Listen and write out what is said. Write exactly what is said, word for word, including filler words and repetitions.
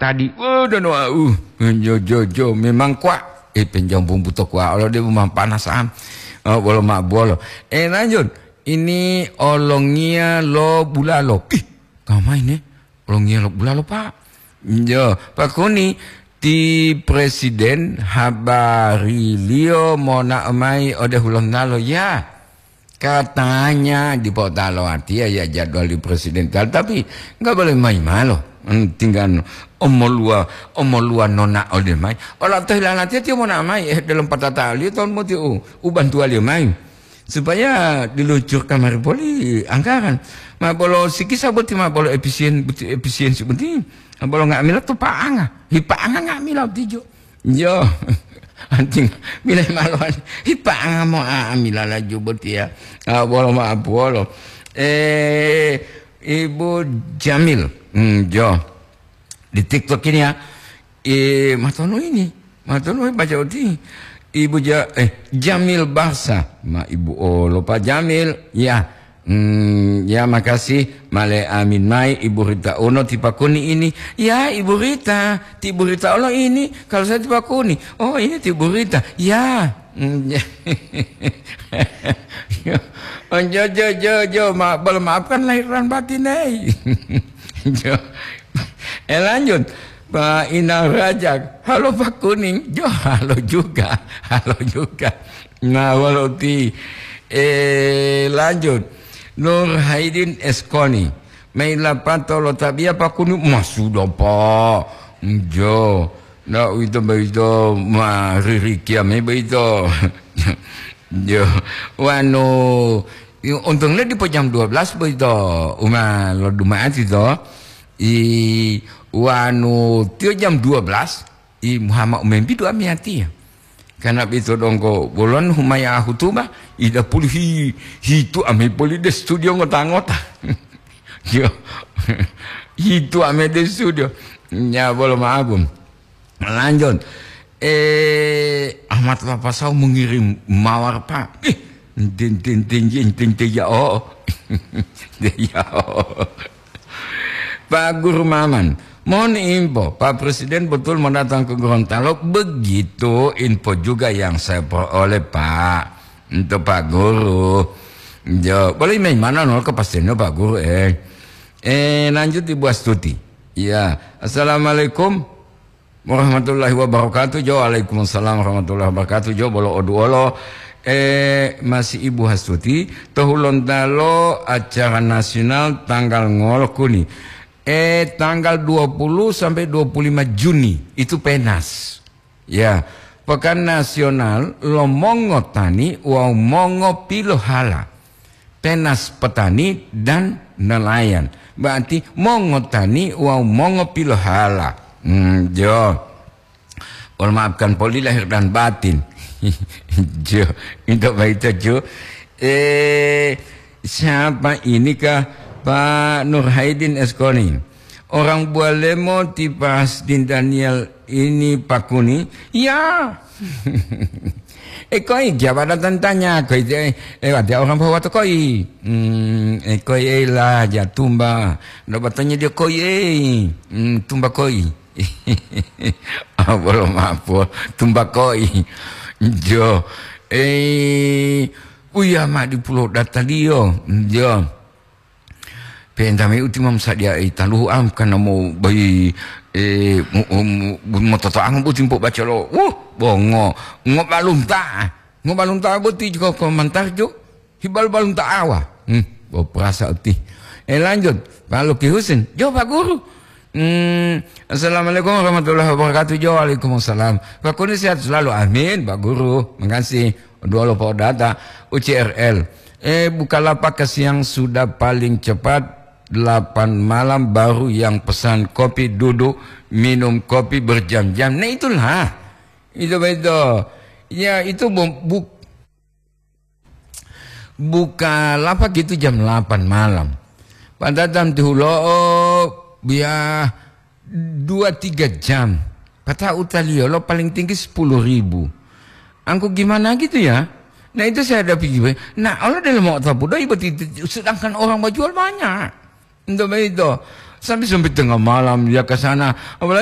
Tadi, oh, dan wau, jo, jo, jo, memang kuat. Eh, penjambung buto kuat, Allah dia memang panas am. Oh, bolo mak bolo. Eh, lanjut. Ini olongia lo bulalo. Ih, kamai ne? Olongia lo bulalo, Pak. Jo, Pak Kuni, ti presiden habari liyo mona mai ode Hulontalo, ya. Katanya dipo talo artinya ya jadwal di presiden tal, tapi nggak boleh main malo. Hmm, tinggal omolua, omolua nona ode mai. Ola toh hilalatiya tiyo mona mai, eh, dalam patata liyo tahun moti u, u bantuan liyo mai. Supaya diluncurkan mari poli anggaran. Ma bolo sikisa boti ma bolo efisien, boti efisiensi boti. Ma bolo nggak mila tu paanga. Hi paanga nggak mila tijo. Yo, anjing, mila malo. Hi paanga mo a mila laju boti ya. Ah, bolo ma apuolo. Eh, Ibu Jamil. Hmm, jo. Di TikTok ini ya. Eh, matonu ini. Matonu baca uti. Ibu ja, eh, Jamil Barsa. Ma Ibu olo Pak Jamil. Ya. Hmm, ya makasih. Male amin mai Ibu Rita Uno ti Pakuni ini. Ya, Ibu Rita. Ti Ibu Rita olo ini. Kalau saya ti Pakuni. Oh, ini ti Ibu Rita. Ya. Hmm, ya. Oh, jo, jo, jo, jo. Ma, bolo maafkan lahir dan batin, hei. Jo. Eh, lanjut. Pak Inang Rajak, halo Pak Kuning, jo halo juga, halo juga. Nah, walau ti, eh, lanjut. Nur Haidin Eskoni, mei lapato lo tabiya Pak Kuning, mas sudah Pak. Jo, ndak uwito boyito ma ririkiya me boyito. Jo, wanu, untung le dipo jam dua belas boyito, uma lo Jumat ito. I, wanu tiyo jam dua belas, i muhama umembidu amiyatiya. Karena bito donggo bolon humaya hutuba, ida pulu hi, hitu ame poli de studio ngota-ngota. Yo. Hitu ame de studio. Nya bolo maabum. Lanjut. Eh, Ahmad Lapasau mengirim mawar, Pak. Ih, tin, tin, tin, tin, tin, tin, ya, oh. Ya, oh. Pak Guru Maman, mohon info, Pak Presiden betul mau datang ke Gorontalo? Begitu info juga yang saya peroleh, Pak. Untuk Pak Guru. Jo, boleh main mana nol kepastiannya Pak Guru, eh. Eh, lanjut Ibu Astuti. Ya, assalamualaikum warahmatullahi wabarakatuh. Jo, waalaikumsalam warahmatullahi wabarakatuh. Jo, bolo oduolo. Eh, masih Ibu Hastuti, to Hulontalo acara nasional tanggal ngolo kuni. Eh, tanggal dua puluh sampai dua puluh lima Juni, itu penas. Ya, pekan nasional lo mongotani wawu mongopilohala. Penas petani dan nelayan. Berarti mongotani wawu mongopilohala. Hmm, jo. Mohon maafkan poli lahir dan batin. Jo, itu baik jo. Eh, siapa ini kah Pak Nur Haidin Eskoni? Orang Bualemo tipas din Daniel ini Pakuni? Ya. Eh, koi, siapa datang tanya? Koi, eh, eh, ada orang bawa tu koi. Hmm, eh, koi, eh, lah, ya tumba. Ndak bertanya dia koi, eh. Hmm, tumba koi. Ah, bolo mapo, tumba koi. Jo. Eh, uya ma di pulau dataliyo. Jo. Penta me uti mam sadia e taluhu am kana mo bai, eh, mo, mo, mo, mo toto ang bo timpo bacalo. Wuh, bongo. Ngo balunta. Ngo balunta bo ti ko, ko mantar jo. Hibal balunta awa. Hmm, bo perasa uti. Eh, lanjut. Pak Luki Husin. Jo, Pak Guru. Hmm, assalamualaikum warahmatullahi wabarakatuh. Jo, waalaikumsalam. Pak Kuni sehat selalu. Amin, Pak Guru. Makasih. Dua lupa data U C R L. Eh, Bukalapak ke siang sudah paling cepat delapan malam baru yang pesan kopi duduk minum kopi berjam-jam. Nah, itulah. Itu betul. Ya, itu bu, bu, Bukalapak itu jam delapan malam. Padahal jam tihulo'o biya dua tiga jam. Pata'u taliyo lo paling tinggi sepuluh ribu. Angku gimana gitu ya? Nah, itu saya ada pikir, nah, Allah dalam mau tapu doi berarti, sedangkan orang berjual banyak. Untuk begitu, sampai-sampai tengah malam dia ke sana. Apalagi